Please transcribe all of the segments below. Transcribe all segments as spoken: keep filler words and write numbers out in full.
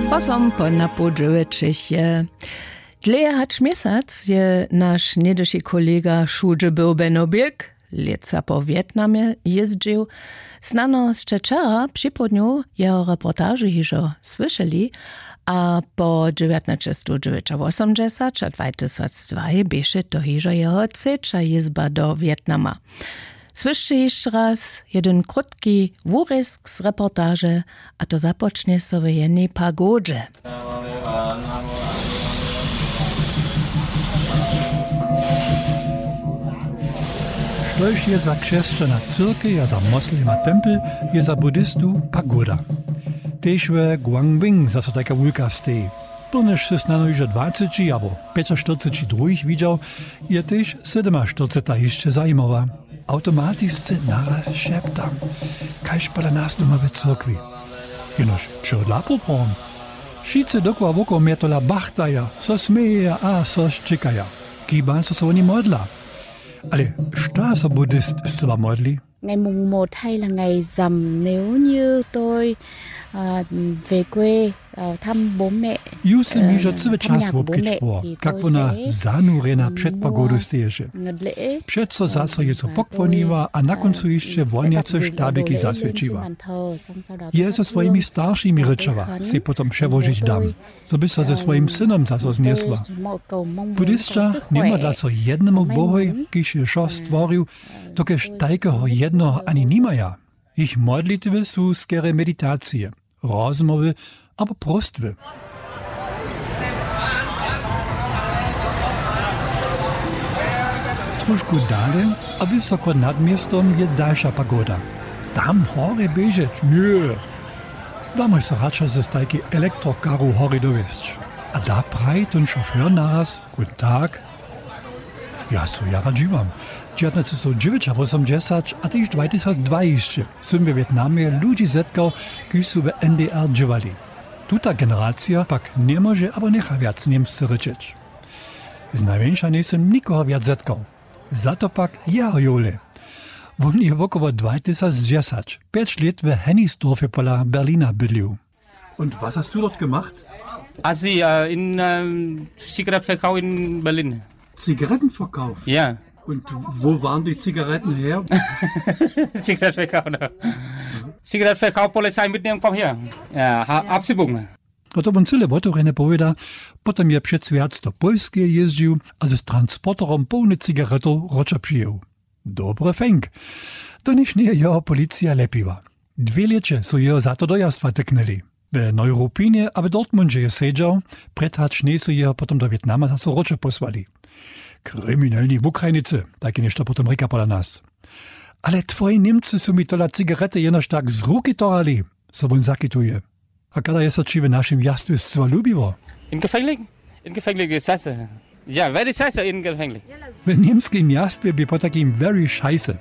Posom po napoł dźewjećich je. Dlěje hač měsac je naš něhdyši kolega wšudźe był Beno Birk, lětsa po Wjetnamje jězdźił. Snano sće wčera připołdnju jeho reportažu hižo słyšeli. A po dźewjatnaćestowdźewjećawosomdźesać a dwajtysacdwa běše to hižo jeho třeća jězba do Wjetnama. Słyšće hišće raz jedyn krótki wurězk z reportaže, a to započnje so w jenej pagodźe. Štož je za křesćana cyrkej a za moslema tempel, je za buddhistu pagoda. Tež w Guangwing zaso tajka wulka steji. Pyrnjež sy snano hižo dwaceći abo pjećaštyrceći druhich widźał, je tež sydymaštyrceta hišće zajimawa. Awtomatisce naraz šeptam, kaž pola nas doma w cyrkwi. Jenož čehodla poprawom? Wšitcy dokoła wokoło mje tola bachtaja, so smějeja a so šćěkaja. Kiba so so woni modla. Ale što so buddhist scyła modli? Ngày mùng một hay là ngày rằm nếu như tôi à, về quê à, thăm bố mẹ. Ju sym hižo cyły čas wobkedźbował, kak wona zanurjena před pagodu steješe. Přeco zaso je so pokłoniła a na kóncu hišće wonjace štabiki zaswjećiła. Je ze swojimi staršimi rěčała, sej potom přełožić dam, zo by so ze swojim synom zaso znjesła. Buddhisća njemodla so jednemu bohoj, kiž je wšo stworił, dokelž tajkeho jednoho ani nimaja. Jich modlitwy su skerje meditacije, rozmołwy abo próstwy. Trošku dale a wysoko nad městom je dalša pagoda. Tam horje běžeć? Ně. Damoj so radšo z tajkej elektrokaru horje dowěsć. A da praji tón šofér naraz: Guten Tag. Ja so jara dźiwam. Dźewjatnaćestowdźewjećawosomdźesać a tež dwajtysacdwa hišće sym we Wjetnamje ludźi zetkał, kiž su w N D R dźěłali. Tuta generacija pak njemóže abo njecha wjac němsce rěčeć. Znajmjeńša njejsym nikoho wjac zetkał. Za to pak jeho jowle. Wón je wokoło dwajtysacdźesać pjeć lět w Hennigsdorfje pola Berlina bydlił. Und was hast du dort gemacht? Asi äh, in ähm, Zigarettenverkauf in Berlin. Zigarettenverkauf? Ja. Und wo waren die Zigaretten her? Zigarettenverkauf, ne? Zigarettenverkauf, Polizei mitnehmen, komm her. Ja, ha, abschiebung. No to wón cyle wotewrjene powěda. Potom je přez wjac do Pólskeje jězdźił a z transporterom połny cigaretow wróćo přijěł. Dobry fenk. To niž njeje jeho policija lepiła. Dwě lěće su jeho za to dojazd wotyknyli. W Neuropinje a w Dortmundźe je sedźał, prjed hač njejsu jeho potom do Wjetnama zaso wróćo pósłali. Kriminelni wukrajnicy, tajke něšto potom rěka pola nas. Ale twoji Němcy su mi tola cigarety jenož tak z ruki torali, so wón zakituje. A kada je so ći w našim wjastwje scyła lubiło? In gefänglich? In gefänglich je sese. Ja, very sese in gefänglich. W němskim wjastwje bě potajkim very šajse.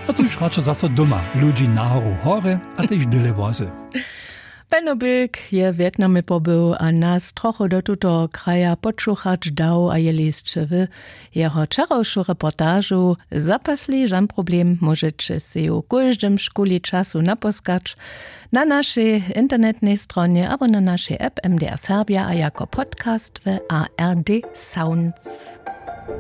A tuž radšo zaso doma ludźi nahoru horje a tež dyle wozy. Benno Bilk je w Wjetnamje pobył a nas trochu do tutoho kraja podšuchać dał a je lisće w jeho wčerawšu reportažu. Zapasli žan problem, móžeće sej w kóždym škuli času napóskać na našej internetnej stronje abo na našej app M D R Serbia a jako podcast w A R D Sounds.